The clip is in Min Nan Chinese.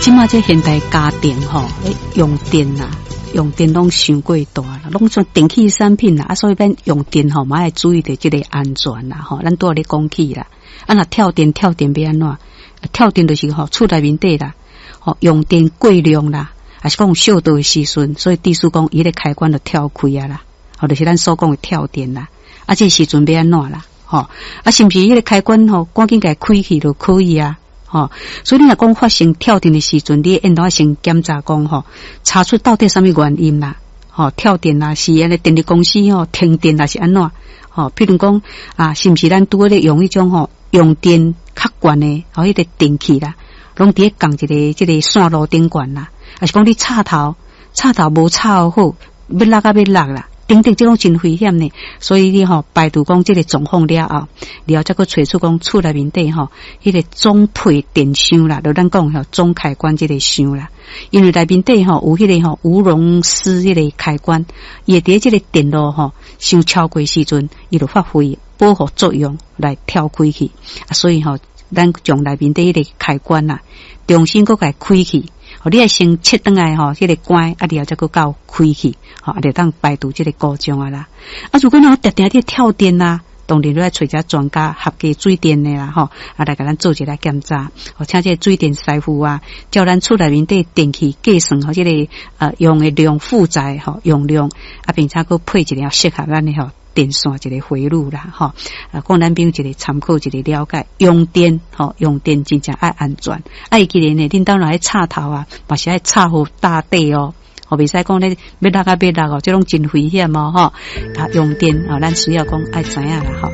這馬這現代家庭吼，用電啊，用電攏傷過大啦，攏算電器產品啦，啊，所以咱用電吼嘛愛注意著這個安全啦，吼，咱拄仔咧講起啦，啊，若跳電跳電欲按怎？跳電就是吼厝內面底啦，吼用電過量啦，抑是講燒著的時陣，所以意思講伊个開關就跳開啊啦，吼，就是咱所講的跳電啦，啊，這時陣欲按怎啦？吼，啊，是毋是彼个開關吼，趕緊共開去就可以啊？吼，所以你若講發生跳電的時陣，你應當先檢查講吼，查出到底啥物原因啦？吼，跳電啊，是按呢電力公司吼停電，抑是按怎？吼，譬如講啊，是毋是咱拄仔咧用彼種吼用電較懸的吼，彼個電器啦，攏佇咧仝一个這個線路頂懸啦，抑是講你插頭插頭無插好，欲落啊欲落啦？等等，這攏真危險呢，所以你吼排除講這個狀況了後，了後才閣揣出講厝內面底吼，彼個總配電箱啦，就咱講吼總開關這個箱啦，因為內面底吼有彼個吼無熔絲彼個開關，伊會佇這個電路吼傷超過時陣，伊就發揮保護作用來跳開去，啊，所以吼咱將內面底彼個開關啊，重新閣共開去。你愛先切轉來吼，彼個關，啊，然後才閣到開去，吼，啊，就當排除這個故障啊啦。啊，如果若定定佇跳電啊，當然你愛揣一專家合格水電的啦，吼，啊，來共咱做一下檢查，吼，請這個水電師傅啊，照咱厝內面底電器計算吼，這個用的量負載吼用量，啊，並且閣配一個適合咱的吼電線一個回路啦，吼，啊，供咱朋友一個參考一個了解，用電吼，用電真正愛安全，啊，會記得呢，恁兜若插頭啊，嘛是愛插好搭地哦，吼，袂使講咧欲落啊欲落哦，這攏真危險哦，吼，啊，用電啊，咱需要講愛知影啦，吼。